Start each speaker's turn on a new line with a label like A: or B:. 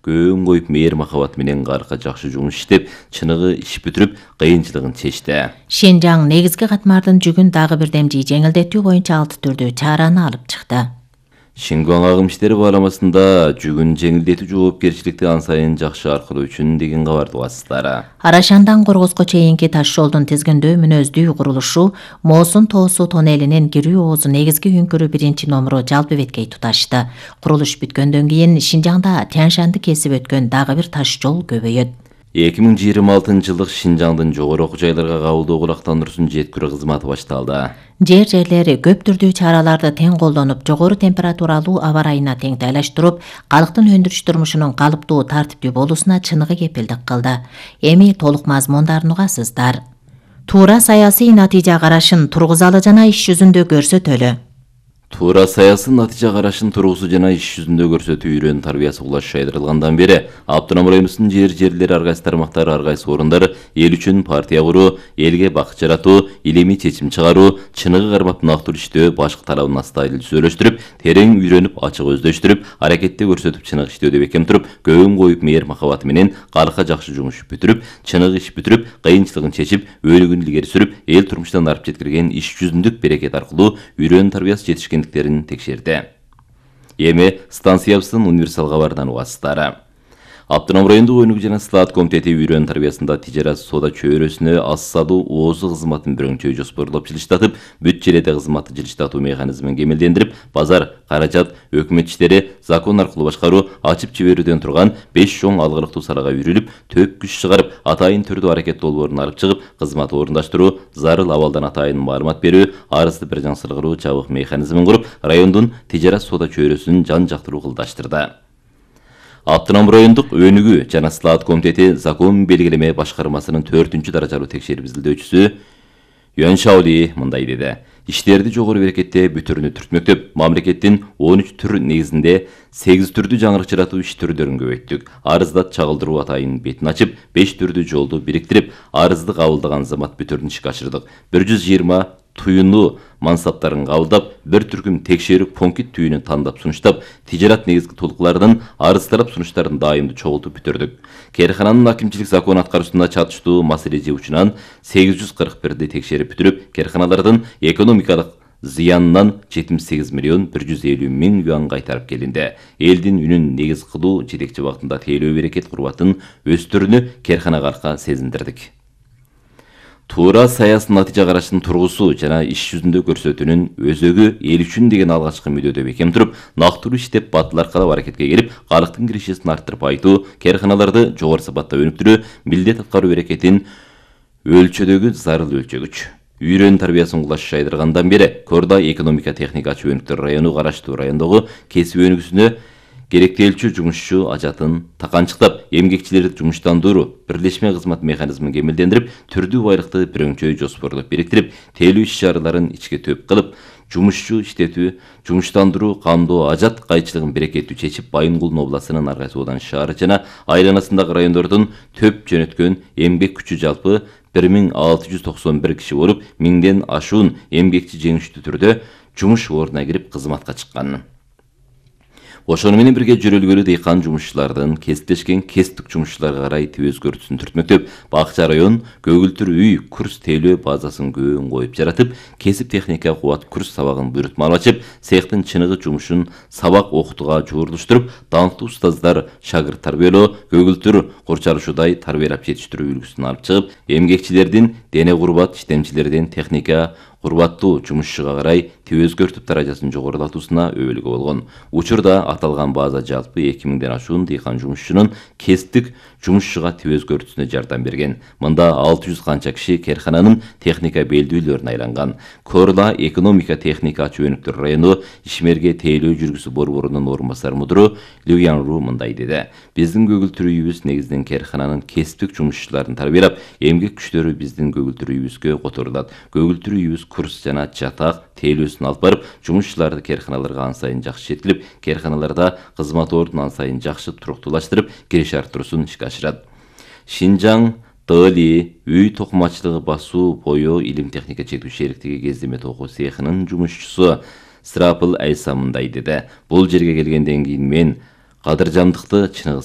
A: көөн коюп мээр махабат менен арка жакшы жумуш иштеп, чыныгы иш бүтүрүп, кыйынчылыгын чечти.
B: Шинжаң негизги катмардын жүгүн дагы бир демжи жеңилдетүү боюнча 6 түрдүү чараны алып чыкты.
A: Шингуан агым иштери бааламасында жүгүн жеңилдетүү жоопкерчиликти ан сайын жакшы аркылоо үчүн деген кабарды угасыздар.
B: Арашандан Коргозго чейинки таш жолдун тизгиндөө мүнөздүү курулушу Моосун тоосу тоннелинин кирүү оозу негизги үңкүрү 1-номуру жалпы беткей туташты. Курулуш бүткөндөн кийин Шинжаңда Тянь-Шанды кесип өткөн дагы бир таш жол көбөйөт.
A: 2026 Шинжаңдын жогору окуу жайларга кабылдоо кулактандыруусунун жеткирүү кызматы башталды.
B: Жерлери көп түрдүү чараларды тең колдонуп, жогору температуралуу аба ырайына теңтайлаштырып, калктын өндүрүш турмушунун калыптуу тартиптүү болуусуна чыныгы кепилдик кылды. Эми толук мазмундарын угасыздар. Туура саясий натыйжа карашын тургузалы жана иш жүзүндө көрсөтөлү.
A: Туура саясий натыйжа карашын тургузуу жана иш жүзүндө көрсөтүү үйрөнүү тарбиясы кулаш шайдырылгандан бери Автоном районубуздун жерлери ар кайсы тармактары, ар кайсы орундар эл үчүн партия куруу, элге бакыт жаратуу, илимий чечим чыгаруу, чыныгы кармап нактуу иштөө, башкы талабын астайыл сүйлөштүрүп, терең үйрөнүп, ачык өздөштүрүп, аракетте көрсөтүп, чыныгы иштөөдө бекем туруп, көөн коюп мээр махабаты менен арка жакшы жумуш бүтүрүп, чыныгы иш бүтүрүп, кыйынчылыгын чечип, өөлүгүн илгери сүрүп, эл турмуштан арып жеткирген иш жүзүндүк берекет аркылуу үйрөнүү тарбиясы жетишкендиктерин текшерди. Эми станциябыздын универсал кабарынан угасыздар. Автоном райондук өнүгүү жана слаат комитети үйрөнүү тарбиясында тижарат соода чөйрөсүнө аз салуу оозу кызматын бирөңчөй жоспорлоп жылыштатып, бүт желеде кызматты жылыштатуу механизмин кемелдендирип, базар, каражат, өкмөт иштери, закон аркылуу башкаруу, ачып жиберүүдөн турган 5 чоң алгылыктуу салага үйрүлүп, төп күч чыгарып, атайын түрдүү аракет долбоорун алып чыгып, кызмат орундаштыруу, зарыл абалдан атайын маалымат берүү, арызды бир жаңсыргыруу жабык механизмин куруп, райондун тижарат соода чөйрөсүн жан жактыруу кылдаштырды. Автоном райондук өнүгүү жана слаат комитети закон белгилеме башкармасынын 4-даражалуу текшерип изилдөөчүсү Юан Шаоли мындай деди. Иштерди жогору берекетте бүтүрүнү түртмөктөп, мамлекеттин 13 түр негизинде 8 түрдүү жаңырык жаратуу иш түрдөрүн көбөйттүк. Арыздат чагылдыруу атайын бетин ачып, 5 түрдүү жолду бириктирип, арызды кабылдаган замат бүтүрүн ишке ашырдык. 120 туюну мансаптарын кабылдап, бир түркүм текшерүү пункт түйүнү тандап сунуштап, тижарат негизги толуклардан арыз талап сунуштарын дайымдуу чогултуп бүтүрдүк. Керкананын акимчилик закон аткаруусуна чатыштуу маселе жыгуучунан 841 текшерип бүтүрүп, керканалардын экономикалык зыянынан 78 миллион 150 миң юан кайтарып келинди. Элдин үнүн негиз кылуу жетекчи багытында тейлөө берекет курбатын өстүрүүнү керканага арка сезиндирдик. Туура саясий натыйжа карашын тургусуу жана иш жүзүндө көрсөтүүнүн өзөгү эл үчүн деген алгачкы мүдөөдө бекем туруп, нактуу иштеп батыл аркалап аракетке келип, калктын киришесин арттырып айтуу, керканаларды жогору сапатта өнүктүрүү, милдет аткаруу берекетин өлчөдөгү зарыл өлчөгүч. Үйрөнүү тарбиясын кулаш шайдыргандан бери Корда экономика техника ачуу өнүктөр району караштуу райондогу кесип өнүгүүсүнө керектелчү жумушчу ажатын таканчыктап, эмгекчилерди жумуштандыруу, бирлешме кызмат механизмин кемелдендирип, түрдүү байлыкты бирөңчөй жоспорлоп бириктирип, тейлөө иш-чараларын ичке төп кылып, жумушчу иштетүү, жумуштандыруу, камдоо, ажат кайчылыгын берекеттүү чечип, Байынгул областынын ар кайсы Одан шаары жана айланасындагы райондордун төп жөнөткөн эмгек күчү жалпы 1691 киши болуп, 1000ден ашуун эмгекчи жеңиштүү түрдө жумуш ордуна кирип кызматка чыккан. Ошону менен бирге жөрөлгөлүү дыйкан жумушчулардын кесиптешкен кесиптик жумушчуларга карай тип өзгөртүүсүн түртмөктөп, Бакча район көгүлтүр үй курс тейлөө базасын көөн коюп жаратып, кесип техника кубат курс сабагын буйрутмалап ачып, цехтин чыныгы жумушун сабак окутууга жуурулуштуруп, даңктуу устаздар шагырт тарбиялоо, көгүлтүр курчалышуудай тарбиялап жетиштирүү үлгүсүн алып чыгып, эмгекчилердин дене курбат иштемчилердин техника курбаттуу жумушчуга карай тип өзгөртүп даражасын жогорулатуусуна өбөлгө болгон. Учурда аталган база жалпы 2000ден ашуун дыйкан жумушчунун кесиптик жумушчуга тип өзгөртүүсүнө жардам берген. Мында 600 канча киши керкананын техника белдүүлөрүнө айланган. Корла экономика техника ачуу өнүктөр району ишмерге тейлөө жүргүсү борборунун орун басары мудуру Люянру мындай деди. Биздин көгүлтүр үйүбүз негизинен керкананын кесиптик жумушчуларын тарбиялап, эмгек күчтөрү биздин көгүлтүр үйүбүзгө которулат. Көгүлтүр үйүбүз курс жана жатак тейлөөсүн алып барып, жумушчуларды керканаларга ан сайын жакшы жеткилип, керканаларда кызмат ордун ан сайын жакшы туруктуулаштырып, кириш арттыруусун ишке ашырат. Шинжаң ТЛИ үй токумачылыгы басуу бою илим техника чектүү шериктиги кездеме токуу цехынын жумушчусу Срапыл Айса мындай деди. Бул жерге келгенден кийин мен кадыржандыкты чыныгы